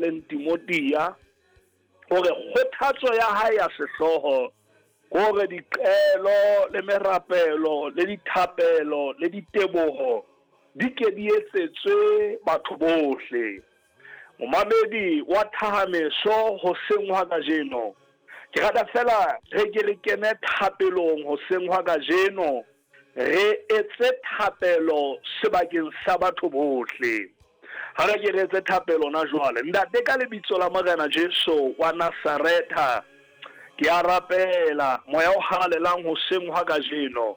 ngolleng Timothea, hore kgothatso ya hae ya sehlooho ke hore diqelo le merapelo le dithapelo le diteboho di ke di etsetswe batho bohle. Momamedi wa Thahameso hoseng hwa kajeno, ke rata fela re ke re kene thapelong hoseng hwa kajeno, re etse thapelo sebakeng sa batho bohle. Ha re ke re etse thapelo na jwale. Ntate, ka lebitso la Morena Jesu wa Nasaretha, ke a rapela moya o halalelang hoseng hwa kajeno.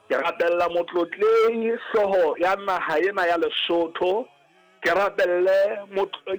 Ke rapella motlotlehi hlooho ya naha ena ya Lesotho, ke rapelle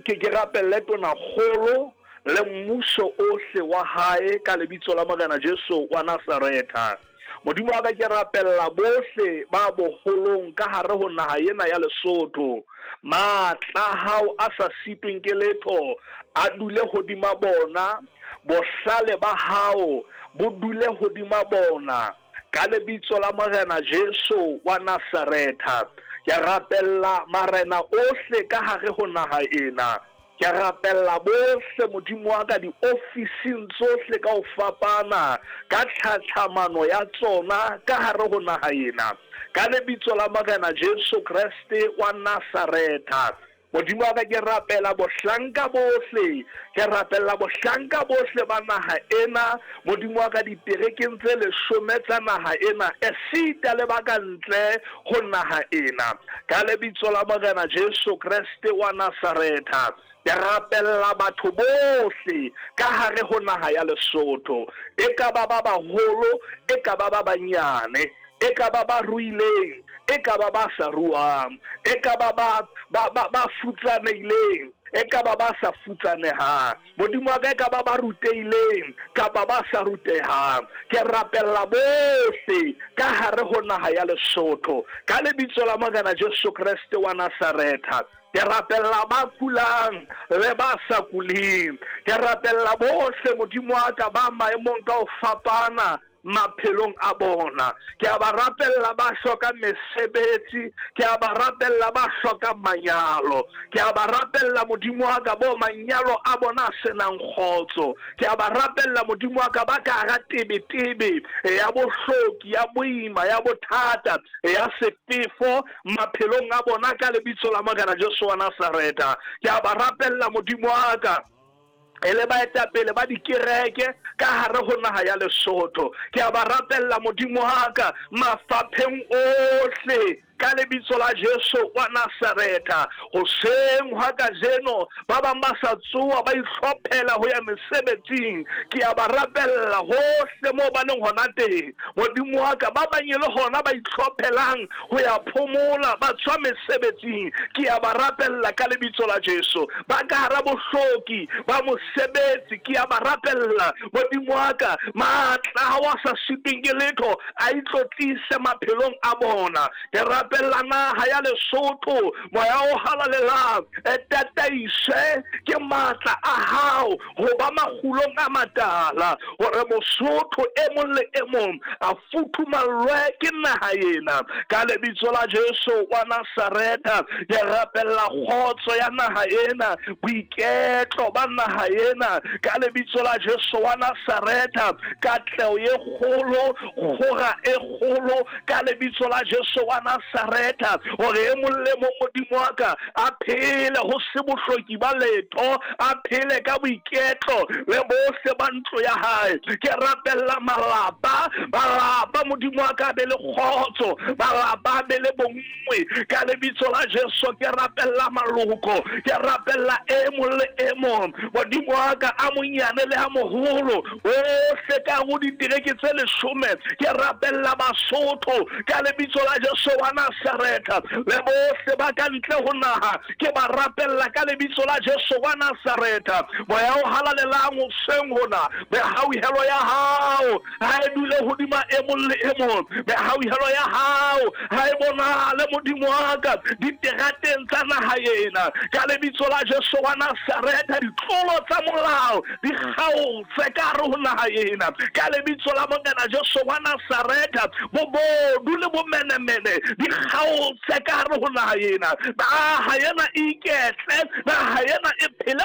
ke rapelle tonakgolo le mmuso ohle wa hae ka lebitso la Morena Jesu wa Nasaretha. Modimo wa ka, ke rapella bohle ba boholong ka hare ho naha ena ya Lesotho. Matla a hao a sa sitweng ke letho a dule hodima bona, bohlale ba hao bo dule hodima bona. Ka lebitso la Morena Jesu wa Nasaretha, ke rapella marena ohle ka hare ho naha ena. Ke rapella bohle, Modimo wa ka, diofising tsohle ka ho fapana, ka tlhatlhamano ya tsona ka hare ho naha ena. Ka lebitso la Morena Jesu Kreste wa Nasaretha, Modimo wa ka, ke rapela bohlanka bohle, ke rapella bohlanka bohle ba naha ena, Modimo wa ka, diterekeng tse leshome tsa naha ena, esita le ba ka ntle ho naha ena. Ka lebitso la Morena Jesu Kreste wa Nasaretha, ke rapella batho bohle ka hare ho naha ya Lesotho, e ka ba ba baholo, e ka ba ba banyane, e ka ba ba ruileng, e ka ba ba sa ruang, e ka ba ba ba ba ba futsanehileng, e ka ba ba sa futsanehang. Modimo wa ka, e ka ba ba rutehileng kapa ba sa rutehang. Ke rapella bohle ka hare ho naha ya Lesotho ka lebitso la Morena Jesu Kreste wa Nasaretha. Ke rapella ba kulang le ba sa kuleng. Ke rapella bohle, Modimo wa ka, ba maemong ka ho fapana maphelong a bona. Ke a ba rapella ba hlokang mesebetsi, ke a ba rapella ba hlokang manyalo, ke a ba rapella, Modimo wa ka, bo manyalo a bona a senang kgotso. Ke a ba rapella, Modimo wa ka, ba ka hara tebetebe ya bohloki, ya boima, ya bothata, ya sefefo maphelong a bona ka lebitso la Morena Jesu wa Nasaretha. Ke a ba rapella, Modimo wa ka, e le baetapele ba dikereke ka hare ho naha ya Lesotho. Ke a ba rapella, Modimo wa ka, mafapheng ohle ka lebitso la Jesu wa Nasaretha. Hoseng hwa kajeno ba bang ba sa tsoa ba ihlophela ho ya mesebetsing, ke a ba rapella hohle moo ba leng hona teng, Modimo wa ka. Ba bang e le hona ba itlhophelang ho ya phomola ba tswa mesebetsing, ke a ba rapella ka lebitso la Jesu. Ba ka hara bohloki ba mosebetsi, ke a ba rapella, Modimo wa ka, matla a wa sa sitweng ke letho a itlotlise maphelong a bona. Ke rapella naha ya Lesotho, moya o halalelang e tataiswe ke matla a hao ho ba makgulong a matala, hore Mosotho e mong le e mong a futhumallwe ke naha ena. Ka lebitso la Jesu wa Nasaretha, ke rapella kgotso ya naha ena, boiketlo ba naha ena. Ka lebitso la Jesu wa Nasaretha, katleho e kgolo, kgora e kgolo, ka lebitso la Jesu wa Nasaretha, hore e mong le mong, Modimo wa ka, a phele ho se bohloki ba letho, a phele ka boiketlo le bohle ba ntlo ya hae. Ke rapella malapa, malapa, Modimo wa ka, be le kgotso, malapa a be le bonngwe ka lebitso la Jesu. Ke rapella maloko, ke rapella e mong le e mong, Modimo wa ka, a monyane le a moholo, bohle ka ho ditereke tse leshome. Ke rapella Basotho ka lebitso la Jesu wa Nasaretha, le bohle ba ka ntle ho naha ke ba rapella ka lebitso la Jesu wa Nasaretha. Moya o halalelang hoseng hona, mehauhelo ya hao ha e dule hodima e mong le e mong, mehauhelo ya hao ha e bonahale, Modimo wa ka, diterateng tsa naha ena ka lebitso la Jesu wa Nasaretha. Ditlolo tsa molao di kgaotse ka hare ho naha ena ka lebitso la Morena Jesu wa Nasaretha. Bobodu le bomenemene di kgaotse ka hare ho naha ena. Naha ena e iketle, naha ena e phele.